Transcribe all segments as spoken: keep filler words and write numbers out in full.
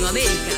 Latinoamérica.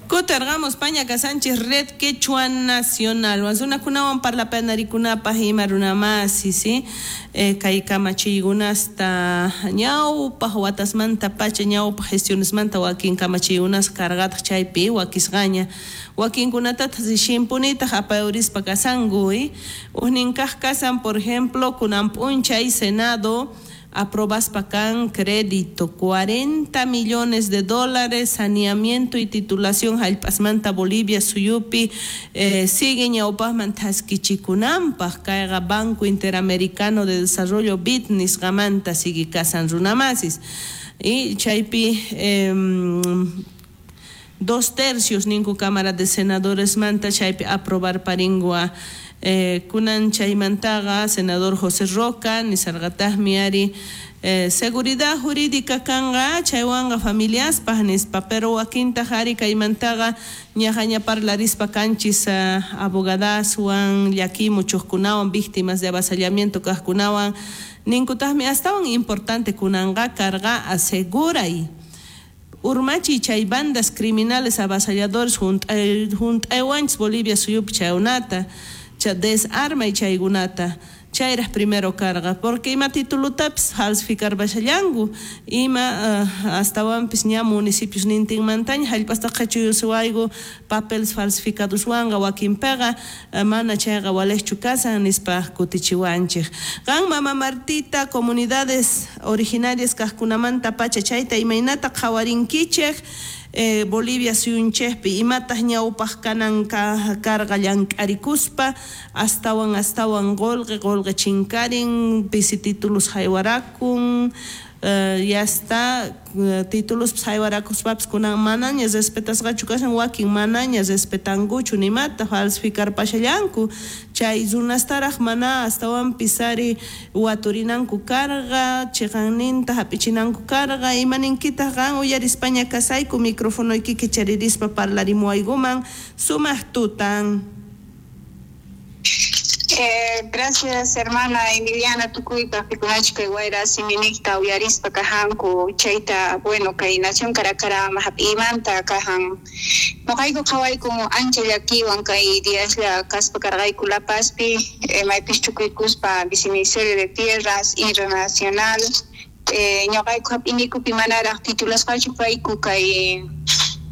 Kutarqamos Paña Casanchis Red Quechua Nacional. Runakunawan parlapanarikunapaj ima runamasi, ¿sí? Eh, kay kamachiykunasta ñawpaj watasmanta pacha ñawpaj gestionesmanta wakin kamachiykunas cargataq chaypi wakisqaña wakinkunatataq rishimpunitaq apayurispa kasanku, ¿eh? Ujninkaj kasan, por ejemplo, kunan p'unchay Senado aprobaspa kan crédito cuarenta millones de dólares saneamiento y titulación jallp'asmanta Bolivia suyupi eh, sigue ñawpajman thaskichikunanpaj kayqa Banco Interamericano de Desarrollo B I D nisqamanta sigue kasan runamasis y chaypi eh, dos tercios ninku Cámara de Senadores manta chaypi aprobar paringua. Eh, kunan chaymantaqa senador José Roca nisarqataqmi ari eh, seguridad jurídica kanqa chaywanqa familiaspaj nispa pero wakintaq ari kaymantaqa ñaqaña parlarispa kanchis uh, abogadaswan llaki muchuqkunawan víctimas de avasallamiento kaqkunawan ninkutaqmi astawan importante kunanqa karqa aseguray urmachi chay bandas criminales avasalladores junt'aywanchis Bolivia suyupi chaykunata cha desarma y chaykunata chayraj primero carga porque ima titulutapis falsificar bashallanku ima uh, astawanpis ña municipios nintinmantaña jallp'asta qhachuyusuwayku papeles falsificadoswanqa wakinpiqa uh, mana chayqa walejchu kasan nispa kutichiwanchik. Qan mama Martita comunidades originarias kaqkunamanta pacha chayta imaynata qhawarinkichik Eh, Bolivia suyunchikpi imataq ñawpaq kanan karqa llank'arikuspa astawan astawan qolqe qolqe chinkarin pisi títulos haywarakun eh, ya está eh, títulos haywarakuspapis kunan manaña respetasqachu kashan wakin manaña respetankuchu nimata falsificar pashallanku chay runastaraj mana astawanpis ari waturinanku karqa chiqanninta hap'ichinanku karqa imaninkitaq qan uyarispaña kasayku microfonoykiki charirispa parlarimuwaykuman sumaq tutan. Eh, gracias, hermana Emiliana Tukuypa, pikunachka wayra siminikta uyarispa kajanku chayta, bueno, kay nación Caracara hap'imanta kajan. Noqayku qhawayku ancha llakiwan kay diaslla kaspa karqayku La Pazpi, eh, maypis chukuykuspa Viceministerio de Tierras Internacional, eh, ñoqayku hap'inikupi manaraq titulasqachu kayku kay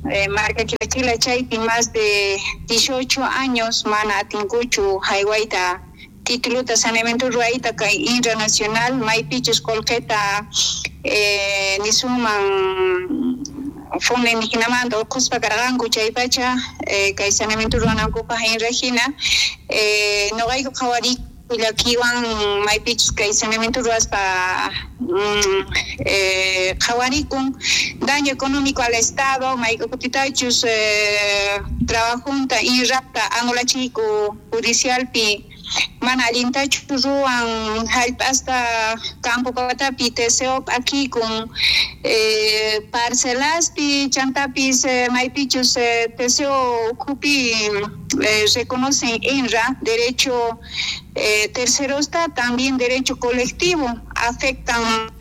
Eh, marca Quilachila chaypi más de dieciocho años mana atinkuchu haywayta tituluta saneamiento ruwayta kay internacional maypichus qolqeta eh, nisuman fondo indígenamanta urqhuspa karqanku chaypacha eh, kay saneamiento ruwanankupaj inrajina eh, noqayku qhawariyku llakiwan maypichus kay saneamiento ruwaspa mm, eh, qhawarikun daño económico al Estado mayk'ukutitachus eh, trabajunta inrapta anulachiku judicialpi mana allintachu ruwan jallp'asta campo patapi T C O p'akikun eh, parcelaspi chantapis eh, maypichus eh, T C O ukhupi eh, reconocen INRA derecho eh, tercerosta también derecho colectivo afectan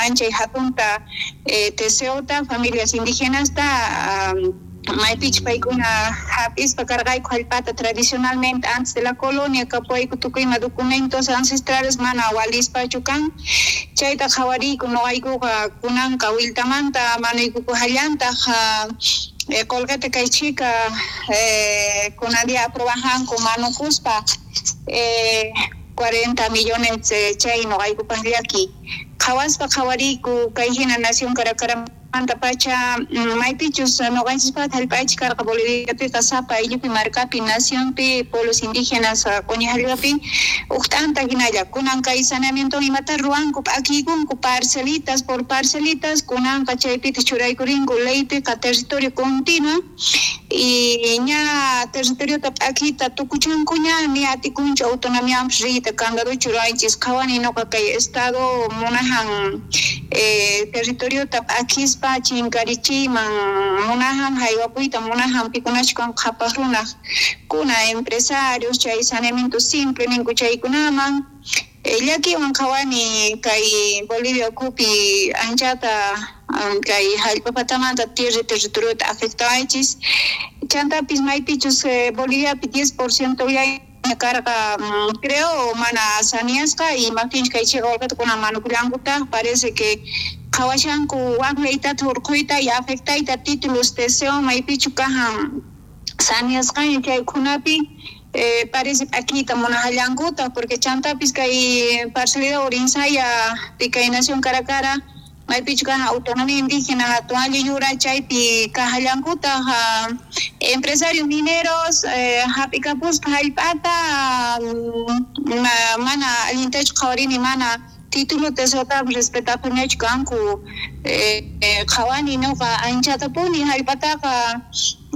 ancha y hatunta eh, T C O ta familias indígenas ta um, maypich paykuna hap'ispa karqayku jallp'ata tradicionalmente antes de la colonia kapuyku tukuyma documentos ancestrales mana walispachu kan chayta qhawariyku noqaykuqa kunanqa wiltamanta manuykuku jallantaq eh, qolqeta kay chika eh, kunan día aprobajanku manukuspa eh, cuarenta millones eh, chay noqaykupaq llaki qhawaspa qhawariyku kay hina nación Caracara manta pacha maypichus noqanchispata jallp'aychik karqa Boliviapiqa sapa ayllupi markapi nacionpi pueblos indígenas q'uñi jallp'api uj t'anta hinalla kunan kay saneamiento imata ruwanku p'akiykunku parcelitas por parcelitas kunanqa chaypitaq churaykurinku leypiqa territorio continuo y ña territoriota p'akiyta tukuchankuña ni atikunchu autonomiampis riyta candaduchu ruwaychis qhawani noqa kay estado munajan eh, territoriota p'akispa chinkarichiyman munajan haywapuyta munajan pikunachkan qhapaq runaq kuna empresarios chay saneamiento simple ninku chaykunaman Llakiwan qhawani kay Bolivia ukhupi anchata kay hallp'a patamanta tierra territoriota afectawaychis. Chantapis maypichus Boliviapi diez por ciento karqa creo mana saneasqa imaptinchus kay chiqa qullqita kunan manukullankutaq parece que qhawashanku wak leytata hurquyta y afectayta títulos T C O maypichu kajan saneasqaña chay ukhunapi eh, parece p'akiyta munajallankuta porque chantapis kay parcialidad Urinsaya kay nación Caracara maypichu kajan autonomía indígena hatun ayllu yura chaypi kajallankutaq empresarios mineros eh, hap'ikapuspa hallp'ata mana allintachu qhawarini mana título T C Otapas respetapunichu kanku eh, qhawani nuqa anchatapuni hallp'ataqa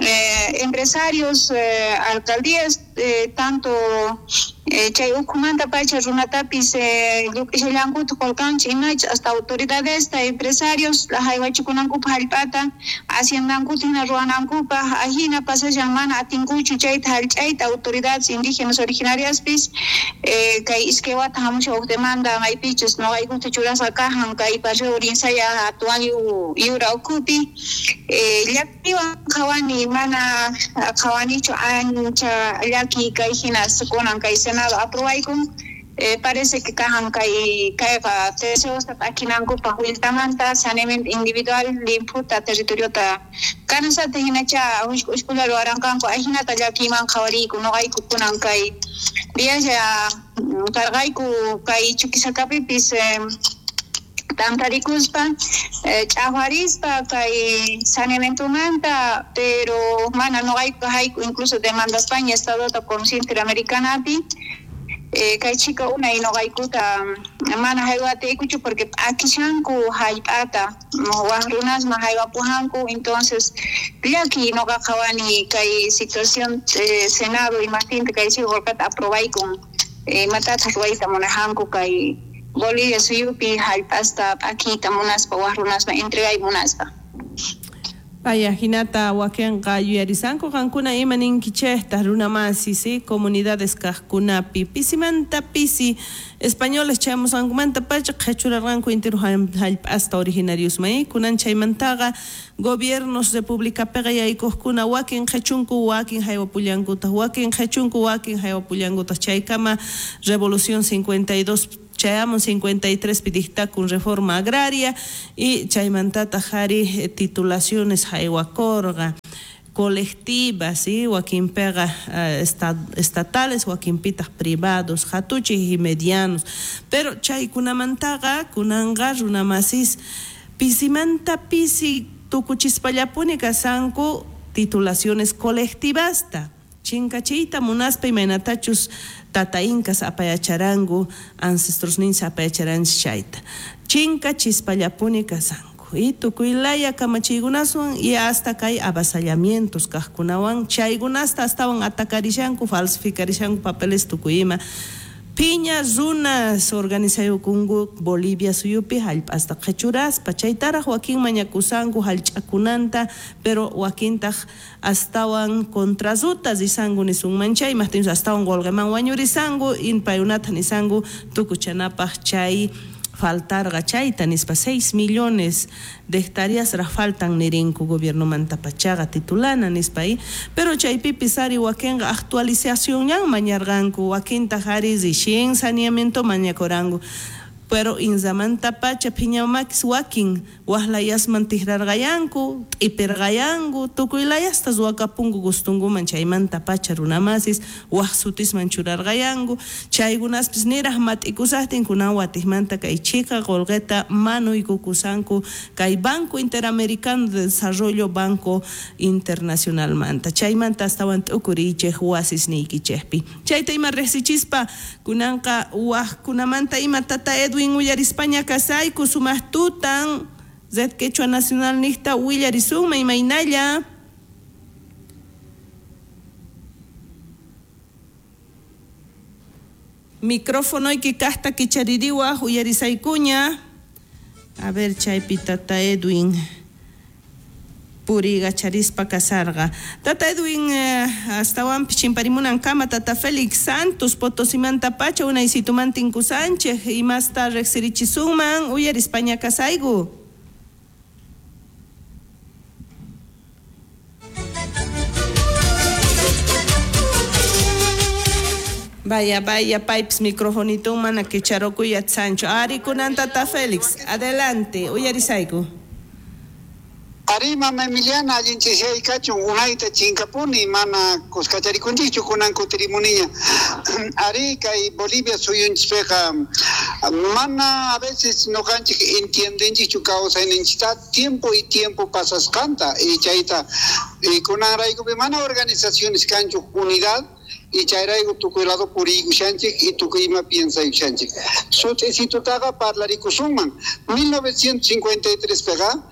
eh, empresarios eh, alcaldías eh, tanto eh, chay ukhumanta pacha runatapis eh, lluk'ishallankuta qullqanchik imachu hasta autoridadesta empresarios haywachikunankupaq hallp'ata haciendankuta hina ruwanankupaq ajina pasashan mana atinkuchu chayta hallch'ayta autoridades indígenas originariaspis eh, kay iskay wata hamushan huk demanda maypichus nuqaykuta churasqa kajan kay barrio Urinsaya hatun ayllu yura ukhupi eh, llakiwan qhawani mana qhawanichu ancha llaki kay hinas kunan kay Senado aprobaykun eh, parece que kajan kay kayqa T C Osta p'akinankupaq willtamanta saneamiento individual limphuta territoriota kanasata hinacha hushk'ushkula ruwaranqanku ajinata llakiyman qhawariyku nuqayku kunan kay diaslla karqayku kay Chuquisacapipis eh, tantarikuspa eh, ch'aqwarispa kay saneamientomanta pero mana nuqayku hayku incluso demandaspaña Estadota Comisión Interamericanapi eh, kay chika unay nuqaykuta mana haywatiykuchu porque p'akishanku hallp'ata wak runasman haywapujanku entonces llaki nuqa qhawani kay situación eh, Senado imaptinta kay chiqa qullqata aprobaykun imatataq ruwayta munajanku kay Bolivia suyupi hallp'asta p'akiyta munaspa wak runasman entregay munaspa. Paya hinata wakinqa yuyarisanku qankuna ima ninkichejta runamasi si comunidades kaqkunapi pisimanta pisi españoles chayamusqankumanta pacha qhechurarqanku intiru hallp'asta originariosman kunan chaymantaqa gobiernos republicapiqa yaykuqkuna wakin qhechunku wakin haywapullankutaq wakin qhechunku wakin haywapullankutaq chaykama revolución cincuenta y dos chayamun cincuenta y tres dictakun reforma agraria y chaymantataq ari titulaciones haywakurqa colectivas, ¿sí? Wakinpiqa uh, estatales, wakinpitaq privados, hatuchik y medianos. Pero chaykunamantaqa kunanqa runamasis pisimanta pisi tukuchispallapuni kasanku titulaciones colectivasta. Chinkachiyta munaspa imaynatachus tata incas apayacharanku, ancestros ninsa apayacharanchis chayta. Chinkachispallapuni kasanku. Y tukuylaya kamachiykunaswan y hasta kay avasallamientos kaqkunawan chaykunasta astawan atakarishanku, falsificarishanku papeles tukuyima. Piña runas organizayukunku Bolivia suyupi hallp'asta qhechuraspa chaytaraq wakin mañakusanku hallch'akunanta pero wakintaq astawan contraruta risanku nisunman chay imaqtinchus astawan qullqiman wañurisanku paykunata nisanku tukuchanapaq chay faltarqa chayta nispa seis millones de hectáreas raj faltan nirinku gobiernomanta pachaqa titulana nispa y pero chaypipis ari wakinqa actualizacionñan mañarqanku wakintaq ari rixin saneamiento mañakuranku pero inzamanta pacha phiñamakis wakin waqlayasman tikrarqayanku t'ipirqayanku tukuylayasta ruwakapunku gustunkuman chaymanta pacha runamasis waq sutisman churarqayanku chaykunaspis niraq mat'ikusaqtin kunan watiqmanta kay chika qullqita manuykukusanku kay Banco Interamericano de Desarrollo Banco Internacionalmanta chaymanta astawan t'ukuriychej wasisniykichejpi chayta ima riqsichispa kunanqa waqkunamanta ima tata Edwin uyarispaña kasayku sumaq tutan Red Quechua Nacional niqta willarisunman imaynalla. Micrófonoyki kaqta kichaririwaq uyarisaykuña. A ver chaypi tata Edwin. puriykacharispa kasarqa. Tata Edwin eh, astawanpis chimparimunankama Tata Félix Santos Potosimanta pacha unaysituman tinkusanchej imasta riqsirichisunman uyarispaña kasayku. Vaya, vaya, pipes, microfonito mana kicharokuy Sancho. Ari kunan Tata Félix, adelante, uyarisayku. Ari mama Emiliana, allinchishay kachun unayta chinkapuni mana kuskacharikunchikchu kunan kutirimuniña. Ari kay Bolivia suyunchikpiqa mana a veces noqanchik entiendenchikchu kawsayninchikta tiempo y tiempo pasasqanta y chayta y kunanraykupi mana organizaciones kanchu unidad y chayrayku tukuy lado puriykushanchik y tukuy ima piensaykushanchik. Sut'isitutaqa parlarikusunman mil novecientos cincuenta y tres piqa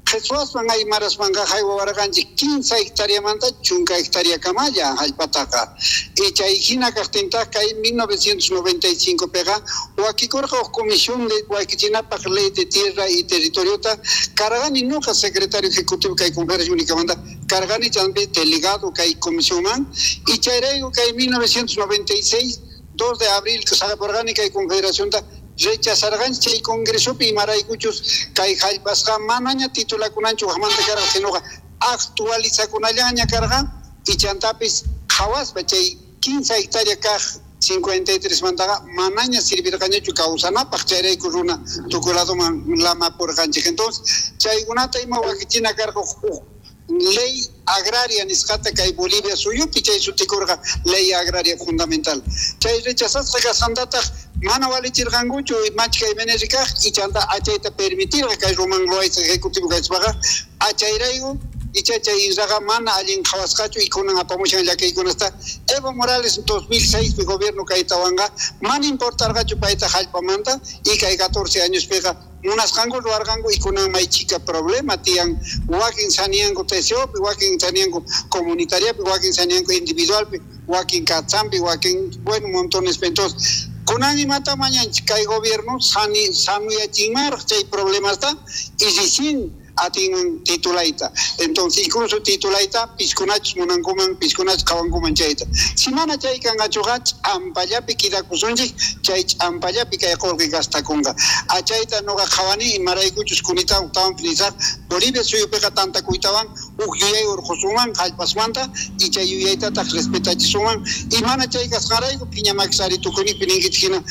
Qheswaswan aymaraswanqa haywawarqanchik quince hectáreamanta chunka hectárea kamalla hallpataqa. Y chay hina kaqtintaq kay mil novecientos noventa y cinco piqa wakikurqa huk comisión de wakichinapaq ley de tierra y territoriota cargani nuqa secretario ejecutivo kay Confederación Únicamanta cargani champi delegado kay comisionman y chayrayku kay mil novecientos noventa y seis dos de abril saqaporqani kay Confederacionta rechazarqanchik chay congresopi imaraykuchus kay hallpasqa manaña titulakunanchu waqmanta karqa sinoqa actualizakunallaña karqa y chantapis qhawaspa chay quince hectárea kaq cincuenta y tres mantaqa manaña sirvirqañachu kawsanapaq chayrayku runa tukuy ladoman lamapurqanchik. Entonces chaykunata ima wakichina karqa huk ley agraria nisqata kay Bolivia suyupi chay sutikurqa ley agraria fundamental. Chay rechazasqa kasqantataq mana walichirqankuchu machka M N R kaq y chanta achayta permitirqa kay Román Loaiza ejecutivo kaspaqa achayrayku icha chay inraqa mana allin qhawasqachu y kunan apamushan llakiykunasta. Evo Morales dos mil seis pi gobierno kaytawanqa mana importarqachu payta hallpamanta y kay catorce años piqa munasqanku ruwarqanku y kunan may chika problema tiyan wakin saniyanku T C O pi wakin saniyanku comunitariapi wakin saniyanku individualpi wakin katsampi wakin bueno montones. Entonces kunan imata mañanchik kay gobierno sani sanuyachinmaraq chay problemasta y recién atinman titulayta. Entonces incluso titulayta piskunachus munankuman piskunachus qhawankuman chayta. Si mana chay kanqachuqa ch'ampallapi kidakusunchik chay ch'ampallapi kay qullqi gastakunqa. Achayta nuqa qhawani imaraykuchus kunita tawan nisaq Bolivia suyupiqa tantakuytawan huk yuyay urqusunman hallpasmanta y chay yuyaytataq respetachisunman y mana chay kasqanrayku phiñamakisari tukunipi ninkichik hina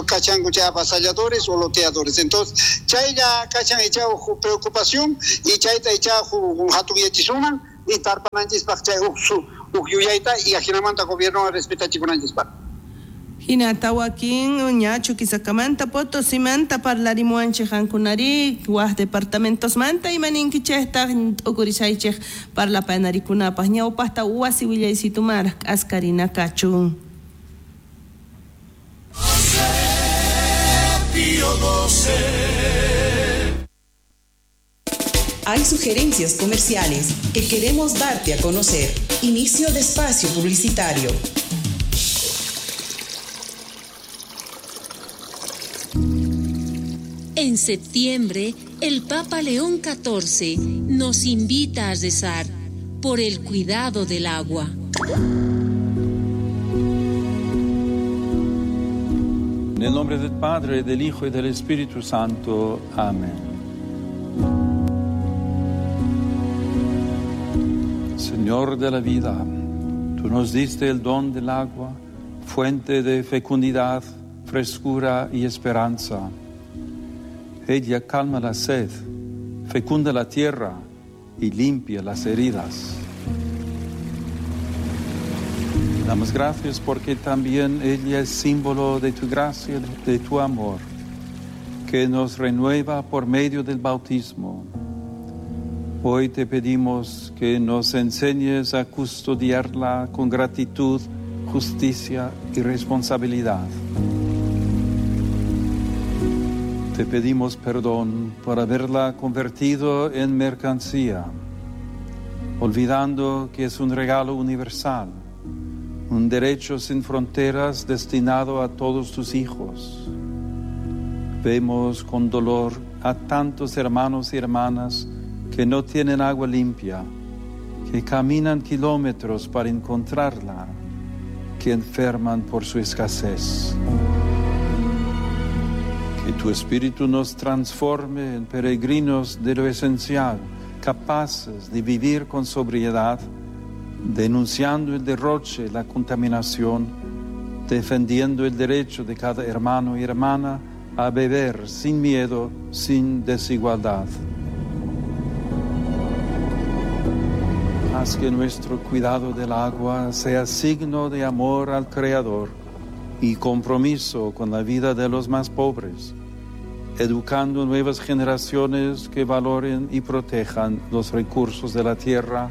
kachanku chay avasalladores o loteadores. Entonces chaylla kachan icha huk preocupación y chayta icha hatun yachisuman y tarpananchispaq chay huk huk yuyayta y ajinamanta gobierno respetachikunanchispaq. Hinata wakin ña Chuquisakamanta Potosimanta parlarimuanchik qankunari waj departamentosmanta imaninkichejtaq t'ukurisaychej parlapanarikunapaq ñawpaqta wasi willaysitumar k'askarina kachun. Hay sugerencias comerciales que queremos darte a conocer. Inicio de espacio publicitario. En septiembre, el Papa León catorce nos invita a rezar por el cuidado del agua. En el nombre del Padre, del Hijo y del Espíritu Santo. Amén. Señor de la vida, tú nos diste el don del agua, fuente de fecundidad, frescura y esperanza. Ella calma la sed, fecunda la tierra y limpia las heridas. Damos gracias porque también ella es símbolo de tu gracia, de tu amor, que nos renueva por medio del bautismo. Hoy te pedimos que nos enseñes a custodiarla con gratitud, justicia y responsabilidad. Te pedimos perdón por haberla convertido en mercancía, olvidando que es un regalo universal, un derecho sin fronteras destinado a todos tus hijos. Vemos con dolor a tantos hermanos y hermanas que no tienen agua limpia, que caminan kilómetros para encontrarla, que enferman por su escasez. Que tu Espíritu nos transforme en peregrinos de lo esencial, capaces de vivir con sobriedad, denunciando el derroche, la contaminación, defendiendo el derecho de cada hermano y hermana a beber sin miedo, sin desigualdad. Haz que nuestro cuidado del agua sea signo de amor al Creador y compromiso con la vida de los más pobres, educando nuevas generaciones que valoren y protejan los recursos de la tierra.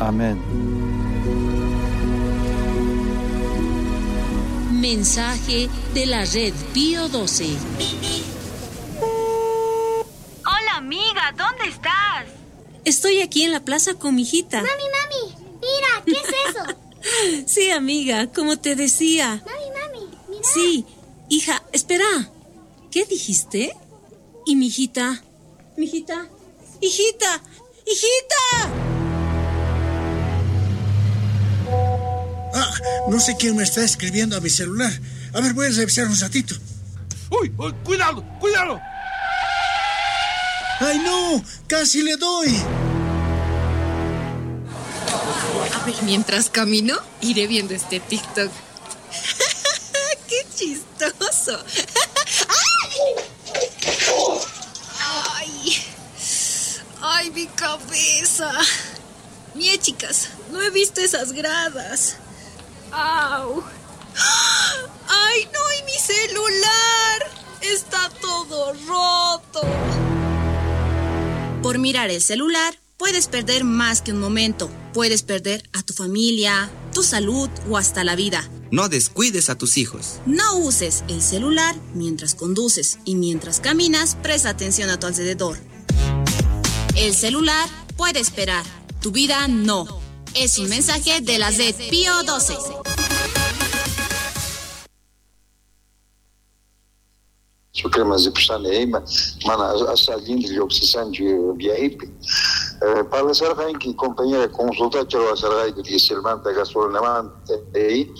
Amén. Mensaje de la Red Pío doce. Hola, amiga, ¿dónde estás? Estoy aquí en la plaza con mi hijita. Mami, mami, mira, ¿qué es eso? Sí, amiga, como te decía. Mami, mami, mira. Sí, hija, espera. ¿Qué dijiste? ¿Y mi hijita? ¿Mi hijita? ¡Hijita! ¡Hijita! Ah, no sé quién me está escribiendo a mi celular. A ver, voy a revisar un ratito. ¡Uy! uy, ¡Cuidado! ¡Cuidado! ¡Ay, no! ¡Casi le doy! A ver, mientras camino, iré viendo este TikTok. ¡Qué chistoso! ¡Ay! ¡Ay, mi cabeza! Mie, chicas, no he visto esas gradas. ¡Au! ¡Ay, no! ¡Y mi celular! ¡Está todo roto! Por mirar el celular, puedes perder más que un momento. Puedes perder a tu familia, tu salud o hasta la vida. No descuides a tus hijos. No uses el celular mientras conduces y mientras caminas, presta atención a tu alrededor. El celular puede esperar, tu vida no. Es un mensaje de la Red Pío doce. Sucrema zipusani ima mana allinta lluqsisanchu viajepi. Parlasarqanki compañera consultacha ruwasarqayku dieselmanta gasolinamanta y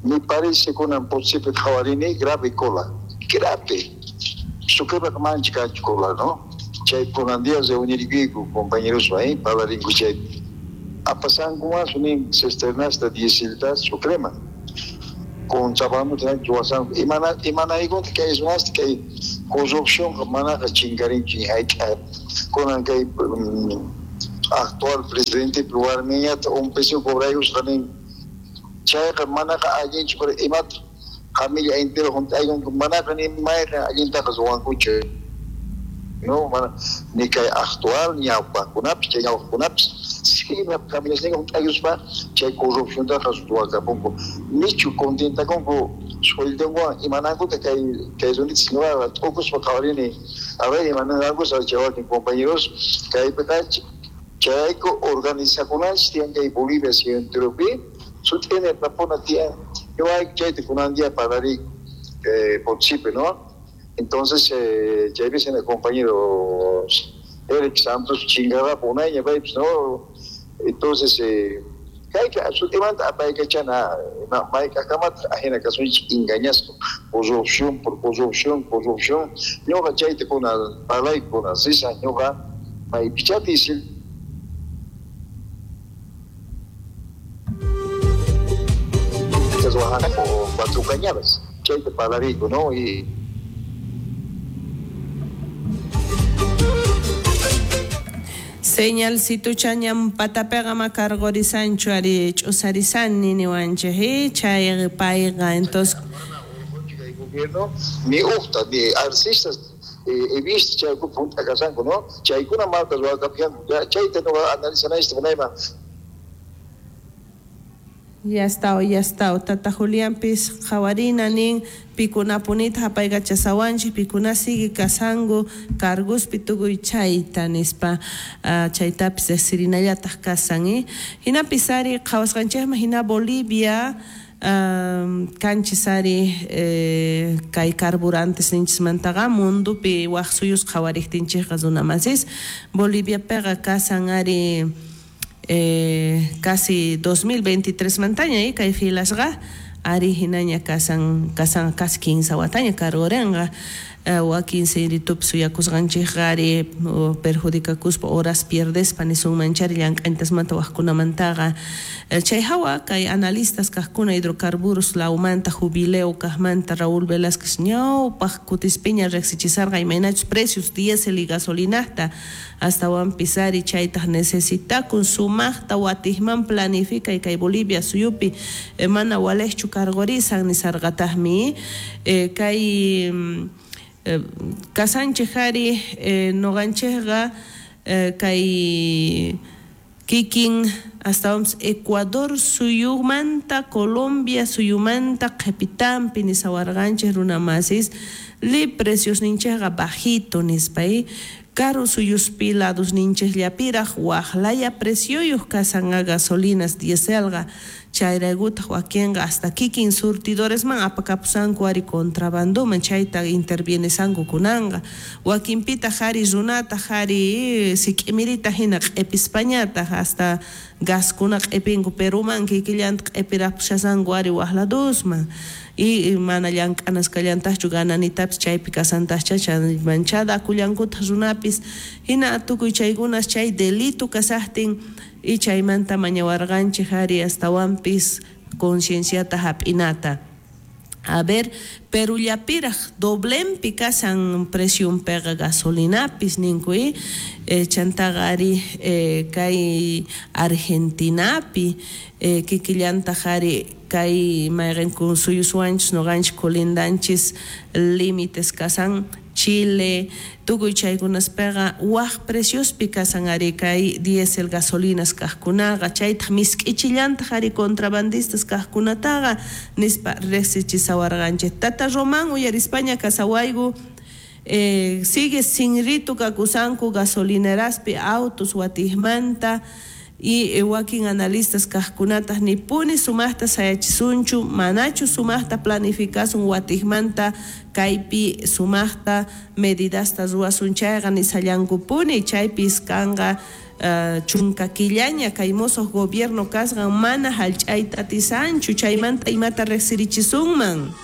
me parece kunan Potosipi qhawarini grave cola, grave. Sucrema mancha kanchu cola, ¿no? Chay kunan día reunirkuyku compañeros ahí parlarinku chay apasankuman sunin cisternasta dieselta Sucrema. Contrabando ruwasanku imana imanaykunta kay runasta kay corrupción manaqa chinkarinchu hayk'a kunan kay actual presidente warmiñata un peso cobraykusqa nin chayqa manaqa allinchu pero imata familia entero junt'aykunku manaqa ni mayqa allintaqa ruwankuchu no mana ni kay actual ñawpaqkunapis chay ñawpaqkunapis sima familiasninqa junt'aykuspa chay corrupciontaqa ruwakapunku nichu contentakunku sueldonwan imanankuta kay kay runitas nuqa t'ukuspa qhawarini a ver imanankus chay wakin compañeros kaypiqa chayrayku organizakunanchis tiyan kay Bolivia centropi sut'ini tapuna tiyan ñuqayku chayta kunan día parlariyku Potosipi, ¿no? Entonces, eh, chaypi el compañero Eric Santos chingaba unayña paypis, ¿no? Entonces, eh, kayka sutimanta apaykachana mayk'aqkamata ajina kasunchik engañaspa corrupción por corrupción corrupción ñuqa chayta kunan parlayku kunan risa ñuqa maypichá diesel cuatro cañadas chayta parlariyku, ¿no? Y Señal situchañam patapeqa makarqurisanchu ari ch'usarisani niwanchik chay payqa entonces el gobierno ni uqta ni arcistas he visto chayku punta kasanku, ¿no? Chaykuna malta ruwakapianku chayta nuqa analizanaysta munayman. Ya está, ya está. Tata Julianpis qhawarina nin pikunapunita hapaykachasawanchik pikuna sigue kasanku cargospi tukuy chayta nispa uh, chaytapis riqsirinallataq kasan eh. Hinapis ari qhawasqanchikman hina Bolivia Um, kanchis ari eh, kay carburantes ninchismantaqa mundupi waj suyus qhawariktinchikqa runamasis Boliviapiqa kasan ari eh, casi dos mil veintitrés mantaña eh, kay filasqa ari hinaña kasan kasan casi quince wataña cargorenqa eh, wakin sinritupi suyakusqanchikqa ari perjudicakuspa horas pierdespa nisunmanchari llank'antasmanta wajkunamantaqa eh, chay hawa kay analistas kajkuna hidrocarburos lawmanta jubileo kajmanta Raúl Velázquez ñawpaq kutispiña riqsichisarqa imaynachus precios diésel y gasolinasta astawanpis ari chaytaq necesitakun sumaqta watijman planifica y kay Bolivia suyupi eh, mana walejchu cargorisan nisarqataqmi eh, kay eh, kasanchej ari eh, noqanchejqa eh, kay kikin astawanpis Ecuador suyumanta Colombia suyumanta qhipitanpi nisawarqanchej runamasis li precios ninchejqa bajito nispa karu suyuspi lados ninchejllapiraj wajlaya precioyuq kasanqa gasolinas dieselqa chayraykutaq wakinqa hasta kikin surtidoresman apakapusanku ari contrabandoman chayta intervienesanku kunanqa wakinpitaq ari runataq ari sik'imirita hina q'ipispañataq hasta gaskuna q'ipinku Peruman kikillanta q'ipirapushasanku ari wajladusman y mana llank'anasqallantaqchu gananitapis chaypi kasantaqcha manchada akullankutaq runapis hina tukuy chaykunas chay delito kasaqtin y chaymanta mañawarqanchik ari astawanpis concienciata hap'inata. A ver, Perullapiraj doblenpi kasan preciunpiqa gasolinapis ninku eh, chantaqa ari eh, kay Argentinapi eh, kikillantaq ari kay mayqinku suyuswanchis noqanchis colindanchis límites kasan Chile, tukuy chaykunaspiqa waj preciospi kasan ari kay diésel gasolinas kajkunaqa chaytaq misk'ichillantaq ari contrabandistas kajkunataqa nispa riqsichisawarqanchik. Tata Román uyarispaña kasawayku eh, sigue sinritu kakusanku gasolineraspi autos watijmanta y eh, wakin analistas kajkunataq nipuni sumaqta sayachisunchu manachu sumaqta planificasun watijmanta kaypi sumaqta medidasta ruwasun chayqa nisallankupuni chaypis kanqa uh, chunka killaña kay mosoq gobierno kasqan mana hallch'ayta atisanchu chaymanta imata riqsirichisunman.